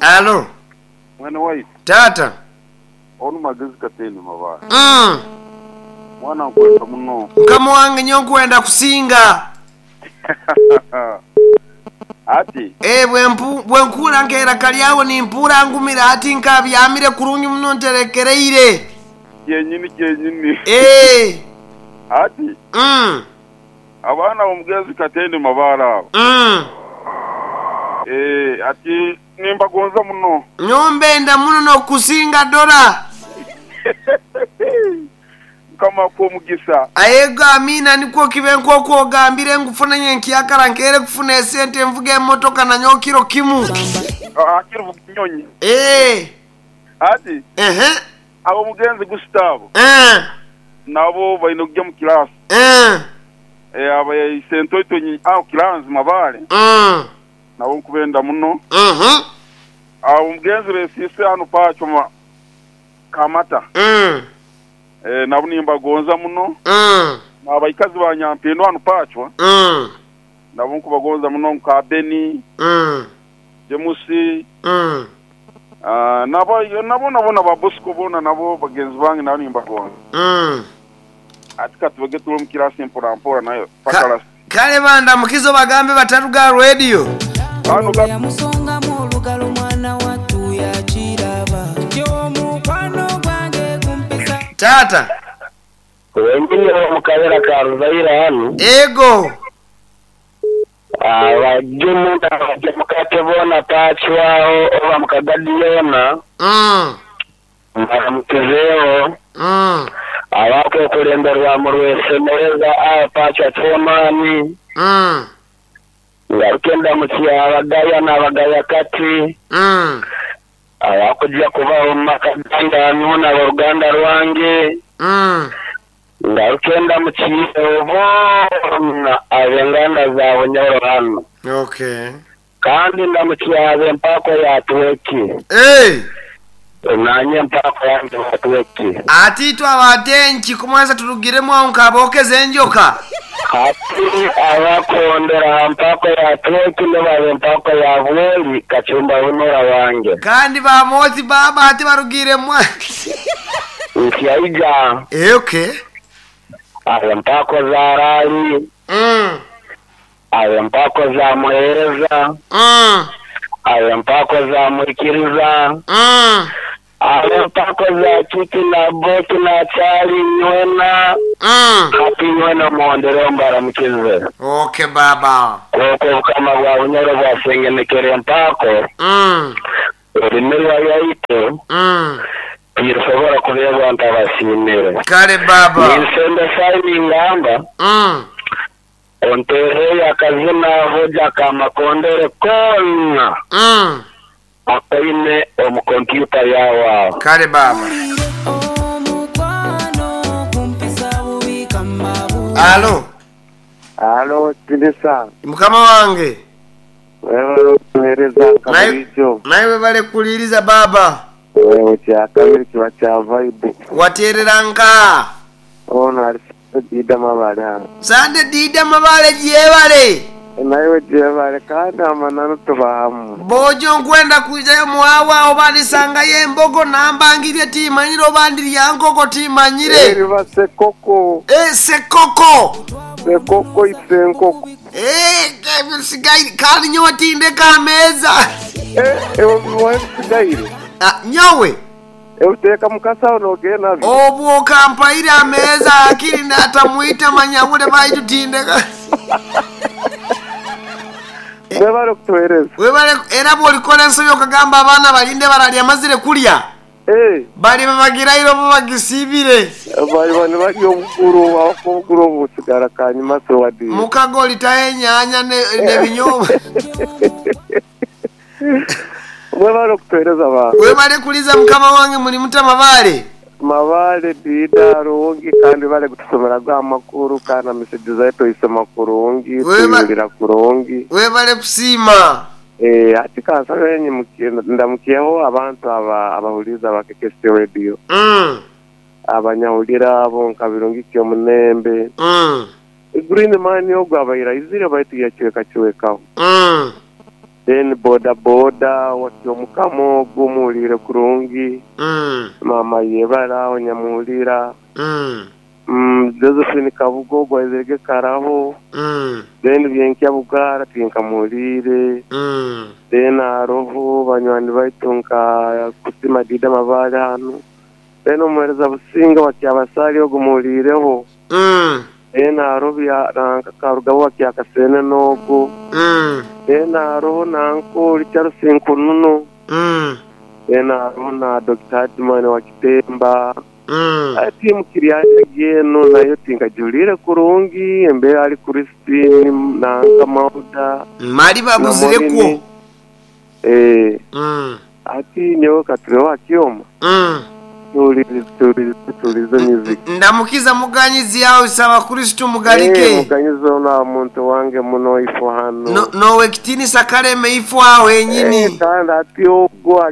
Alo. Mwene waitu. Taata. Onu Magezi Katende Mabaale. Mm. Mwana nkwenda muno. Mukama wange nyowe nkwenda kusinga. Ati. Eh, bwe bwenkuura nk'eiraka lyawe nimpuura ngumire ati nkabyamire kurungi muno nterekereire. Kyenyini kyenyini. Eh. Ati. Mm. Abaana b'omugenzi Katende Mabaale abo. Mm. Eh, ati nimbagonza muno. Nyowe mbenda muno n'okukusinga dora. Mukama akuhe omugisa. Aye Amiina nikwo kibe nk'oku ogambire ngu funa nyenkyakara nkeire kufuna esente nvuge emotoka nanyowe kiro kimu. Hakiri vuga enyonyi. Eeh. Ati, Ehe. Ab'omugenzi Gustavo Eeh. nabo baine kugya mu kilaasi. Eeh. Aba Isentoito agho Kilanzi Mabaale nabo nkubenda muno. Ab'omugenzi Besiise hanu Pacho Kamata nabo nimbagonza muno. N'abaikazi ba Nyampindu hanu Pachwa nabo nkubagonza muno nka Beni, Jemusi, na bonabona ba Bosco bona nabo bagenzi bange nabo nimbagonza. Ati katubege tule omu kirasi mpora mpora nayo paka lasiti. Kale bandamukize obagambe bataruga aha rediyo. Kano ka. Yamusongamu olugalo mwana wattu yakiraba Omukwano gwange gumpisa. Taata. Wenyini omu kabera ka Ruzaire hanu. Ego. Abagimu n'abagyemukate boona Pacwaho oba mu Kagadi yoona mbaramukizeeho. Abakwekuremberwa mu Rwesemereza aho Pacwa Chairman. Ngaruke ndamukye Abagaya n'Abagaya kati. Abakugya kubaho omu maka gange hanu n'aboruganda rwange. Ngaruke ndamukye boona ab'enganda za Bunyoro hanu. Okay. Kandi ndamukye ab'empaako ya Tweki. Hey! Naanye empaako yange ya Tweki. Ati itwe abatenki kumwansa turugiremu aho nk'abookeza enjoka. Hati abakuhondera aha mpaako ya Tweki nibo ab'empaako ya Bwoli Kacumba Hunura wange. Kandi ba Mozi baaba hati barugiiremu. Nsyaija. Eh, okay. Ab'empaako za Raali. Ab'empaako za Muheereza. Ab'empaako za Mwikiriza. Ab'empaako za Kiki na Boki na Kyali nywena. Hati nywena muhondereho mbaramukize. Okay baaba. Kwonka obukama bwa Bunyoro bwasengenekera empaako, eri mirwa yaitu, tirisobora kubeebwa ntabasiimire. Kale baaba. Ninsembesa ningamba, onteereyo akazina hoja ka Makondere koona akoine omu kompyuta yaawe aho. Kale baaba. Alo. Alo, Tinisa. Mukama wange. Webale okutuhereza nka burijo. Naiwe webale kuhuliriza baaba. Wewe kyakabiri kiba kya vibe. Waterera nka? Ono ari Sande Dida Mabale hanu. Sande Dida Mabale gyebale. Naiwe gyebale kandi amananu tuba hamu. Bojo nkwenda kwijayo muwawa oba ndisangayo embogo nambangirye timanyire oba ndirya nkoko timanyire. Eriba sekoko. Eh sekoko. Sekoko ise enkoko. Eh ebisigaire kandi nyowe tindeka aha meeza. Eh ebimuha ebisigaire. Ah nyowe. Ebiteeka mu kasaho nogenda nabyo. Obwo okampaire aha meeza hakiri natamwita manyabule baitu tindeka. Webale okutuhereza. Webale era bwolikora ensobi okagamba abaana balinde bararya mazire kulya. Baliba bagiraire oba bagisiibire. Baliba nibarya obuguru ahabw'okuba obuguru obu butsigara kanyima so wadiire. Mukago olitaho enyaanya n'ebinyobwa. Mwebale okutuhereza ba. Webale kuliza mukama wange muri muta Mabaale? Mabaale Dida Rungi kandi webale kutusomera ago amakuru kandi na message zaitu oisoma kurungi tuyihurira kurungi. Webale kusiima. Eeh hati kansabe nyimukie ndamukyeho abantu aba abahuriize aba KKC Radio. Abanyahurira abo nka Birungi Kyomunembe. Green man ogwo abaire aizire baitu yacwekacwekaho. Then boda boda Wakyomukama ogwo muwuliire kurungi. Maama yebale aho nyamuwulira. Josephine Kabuga ogwo aizirege karaho. Then Byenkya Bugaara tinkamuwuliire. Then haroho banywani baitu nka Kusima Dida Mabaale hanu. Then omuhereza Businge wa Kyabasaali ogwo muwuliireho. Then haroho nanka Karugabo wa Kyakaseenene ogwo. Then haroho nanka ori Charles Nkununu. Then haroho na Dokita Hardman wa Kitemba. Aye tiimu Kiryanjagi eno nayo tinkagihuliire kurungi, embeera ahari Christine nanka Mauda Mali na babuzirekwo. Morini. Eeh. Hati nyowe katureho aha kyoma tuwulirize tuwulirize tuwulirize music. Ndamukiza Muganyizi aho isaba Kristo Eeh mugalike. Muganyizi ono aba muntu wange muno ifo hano. No nowekitiinisa Kaleme ifo aho Eeh henyini. kandi hati ogwo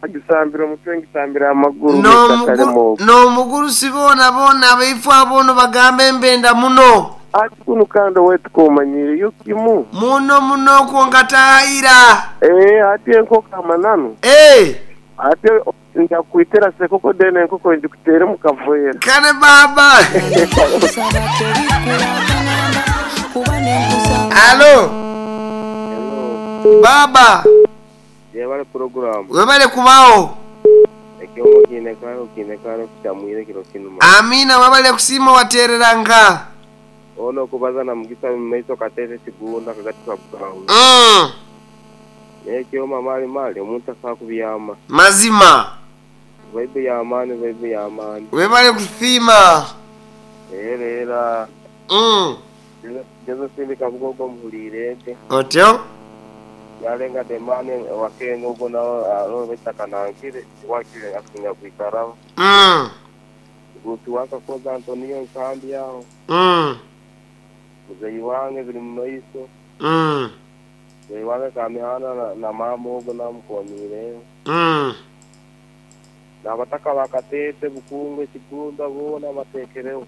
agisambira omutwe ngisambira amaguru Mister Kalema ogwo. Nomugurusi boona boona abaifo abono bagambe mbenda muno. Ati kunu kandi owaitu komanyiireyo kimu. Muno muno kwonka taayira. Eeh hati enkoko amananu. Eeh. Hati nja kukwitira sekoko then enkoko ngikuteere omu kaveera. Kare baaba. Alo. Hello. Baaba. Yebare puroguramu. Webale kubaho. Ekyomo kiine kare okiine kare kukyamwire ekiro kinu mani. Amiina webale kusiima waterera nka. Ono okubaza na Mugisa mumaiso Kateete Kigunda akagati ka Bugahwe. Naye ekyoma mali mali omuntu asobola kubyama. Mazima. Vibe ya maani vibe ya maani. Webale kusiima. Era era. Josephine Kabuga ogwo omuhuriire gye. Otyo. Yarenga Demani owa Kenya ogwo nawe aroho baitu akanankire wakire asinga kwikaraho. Guutu wa Kakoza Antonio Nkambi aho. Muzeeyi wange biri mu maiso. Muzeeyi wange Kamihanda na maama ogwo nawe mukomiireho. N'abataka ba Kateete, Bukungwe, Kigunda boona bateekereho.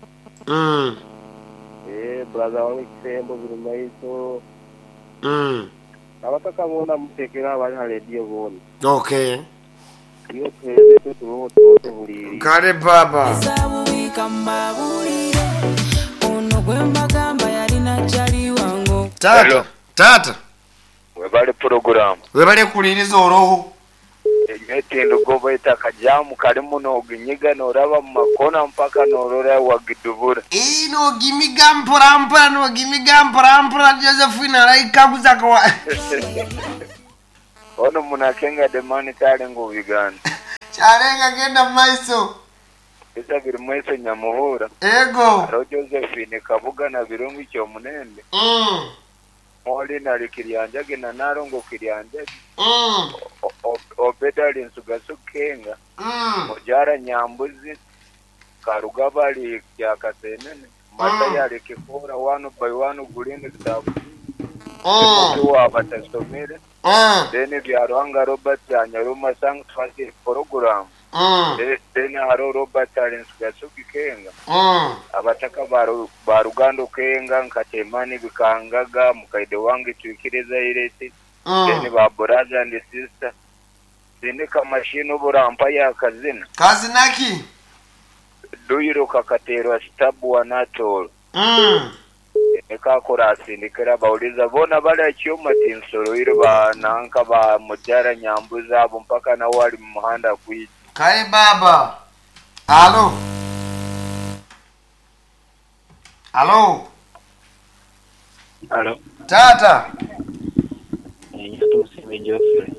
Eeh brother wange Kisembo biri mu maiso. Abataka boona muteekereho abari ha rediyo boona. Okay. Iwe tuheereze itwe tubeho tubeho tuhuliiriire. Kare baba. Taata, Hello. taata. Webale puroguramu. Webale kuhuliriza oroho. Enyo tinduga baitu akajamu karimu noginyiga noraba mu makona mpaka norora wagidubura. Ii nogimiga mpora mpora nogimiga mpora mpora Josephine araikaguza kwa. Ono munakenga demani kyarenga Uganda. Kyarenga genda mumaiso. Bisa biri maiso nyamuhura. Ego. Hariho Josephine Kabuga na Birungi Kyomunende. Molly ali Kiryanjagi na Nalongo Kiryanjagi. Obed ali Nsugasu Kenga. Mujara Nyambuzi. Karugaba ali Kyakasenene. Matayo ali Kikora one by one Green Kitabu. Omuti wa batasomire. Then Byaruhanga Robert Anyaruma Sang Twasi Program. Then hariho Robert ali Nsugasu Kenga. Abataka ba Rugando Kenga Nkatemani Bikangaga Mukaide wange Twikiriza Ireti. Then ba brother and sister. Sindika mashini oburampa ya kazina. Kazina ki? Duyiro kakaterwa sitabu wa natolo. Ekakora asindikira bauliza bona bali ekyoma tinsoroire ba nanka ba mujara nyambuza abo mpaka nawe ali mu muhanda kwija. Kare baba. Alo. Alo. Alo. Tata. Tumusiime Geoffrey.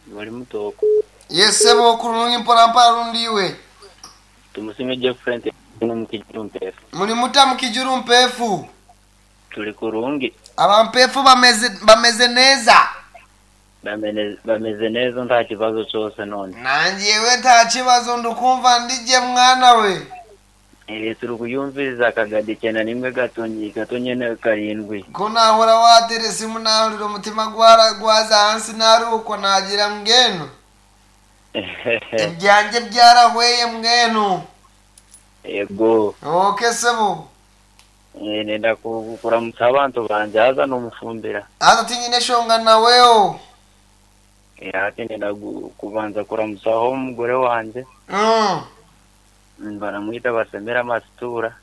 Bali mutooko. Yesebo okurungi mpora mpora rundi iwe. Tumusiime Geoffrey nti mukijuru mpefu. Muri muta mukijuru mpefu. Tuli kurungi. Abampefu bameze neza. Bameze neza nta kibazo cyose none. Nanjyewe nta kibazo ndukumva ndije mwana we. Turi kuyumviriza akagadi icyenda n'imwe gatonyi gatonye na karindwi. Ko nahora wateresa simu nahurira umutima gwaza hansi naruko nagira mbwenu. Ibyanjye byarahweye mbwenu. Yego. Okay sebo. Nenda kuramutsa abantu banje haza n'omufumbira. Haza tinyine eshonga naweho. Hati nenda kubanza kuramutsaho omugore wanje. Baramwita Basemera Masitura.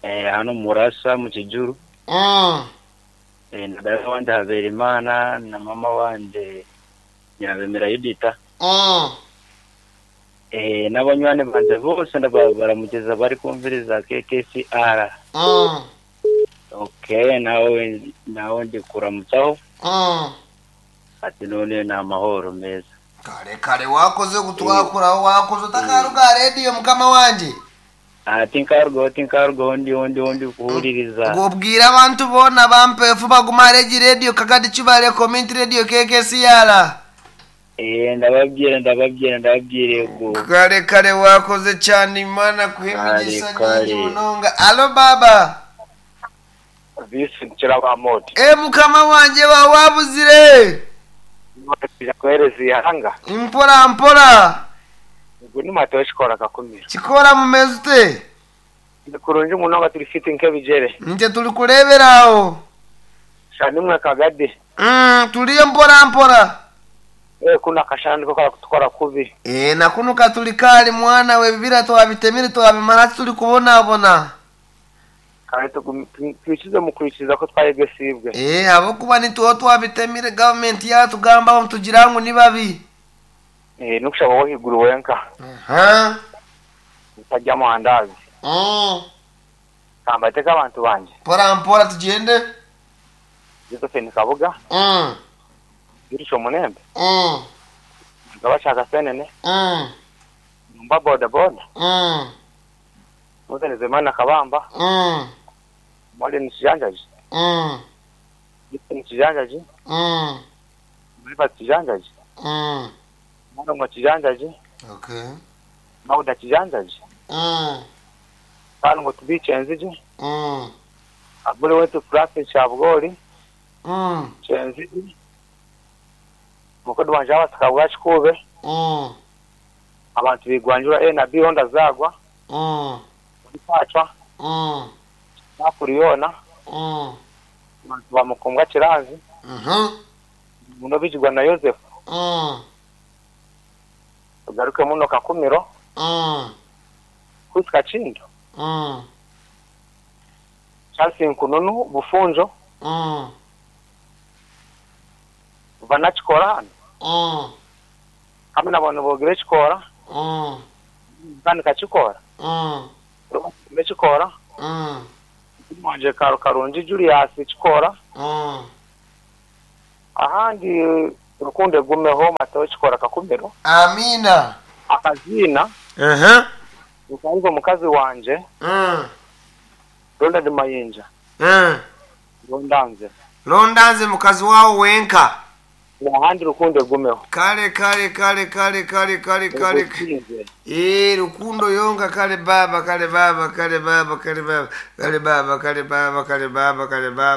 Hano Murasa mu Kijuru. Na dada wanje Haberimana na mama wanje Nyirabemera Yudita. N'abanywani banje bose baramugeza bari kumviriza KKCR. Okay, nawe ndi kuramutsaho. Ati none ni amahoro meza. Kare kare wakoze kutwakuraho, wakoze utakaruga rediyo mukama wanje. Ati nkarugaho ndi kuhuririza. Ngubwira abantu bona bampefu baguma regi rediyo Kagadi Kibale Community Radio KKCR. Ndababwira go. Kare kare wakoze cyane, Imana kuhimigisha nyingi munonga. Alo baba. Visi Kirabamoti. Mukama wanje wa wabuzire. Kuhereza ihanga. Mpora mpora. Ubwo ni Mateo Chikora Kakumiro. Chikora mumeze ute? Kurungi munonga turi fiti nk'ebijere. Nje turi kureberaho. Shanimwe Kagadi. Turiye mpora mpora. Kuna kashani ko karakutwara kubi. Na kuno katuli kali mwana we bibira twabitemire twabimara turi kubonabona. Kandi twikize mu kwikiriza ko twayegesibwe. Abo kuba nituwo twabitemire government yatugamba tugira ngo ni babi. Nukushaba wo higuru wenka. Utajya mu handazi. Kambateka abantu banje. Mpora mpora tugende. Josephine Kabuga. Girisho Munembe. Ngabashaka senene. Mba boda boda. Muzeneze Kabamba. Mwali nisijanjaji. Nisijanjaji. Mwiba kijanjaji. Mwana kijanjaji. Okay. Mauda kijanjaji. Kanu ngo tubiche nziji. Abule wetu Francis Chabugori. Chenziji. Mukodo wanje abasika Kikube. Abantu bigwanjura A na B Honda zagwa. Pachwa. Nakuriyona. Abantu bamukombwa Kiranzi. Muno bijigwa na Joseph. Tugaruke muno Kakumiro. Kusika Chindo. Charles Nkununu Bufunjo. Vanachikora hano. Hamwe n'abantu bogire Chikora. Vanika Chikora. Chikora. Mwanje Karungi Julius Chikora. Ahandi Rukunde gumeho Mateo Chikora Kakumiro. Amina. Akazina. Ukango mukazi wanje. Ronald Mayinja. Rondanze. Rondanze mukazi wawo wenka. Ahandi Rukundo gumeho. Kale kale kale kale kale kale kale. Rukundo yonga kale baba kale baba kale baba kale baba kale baba kale baba kale baba kale baba.